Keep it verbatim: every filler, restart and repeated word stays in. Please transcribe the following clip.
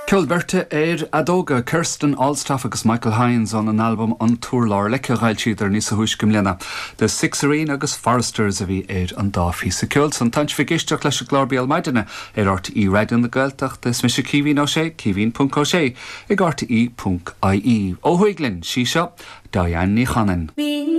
Ceol beirte ar fheadóga Kirsten Alstaff agus Michael Hines ón an albam an Túrlár leice ghailtíidir níos a thuis go mbliana. The Sixareen agus Foresters a bhí ar an dá phíosa ceoil san tá sibh ag éisteacht leis an gclár Béal Maidine ar RTÉ Raidió na Gaeltachta is mise Caoimhín Ó Sé caoimhín.ó sé ag RTÉ.ie. Ó thuaidh linn sí seo Diane Ní Chanainn.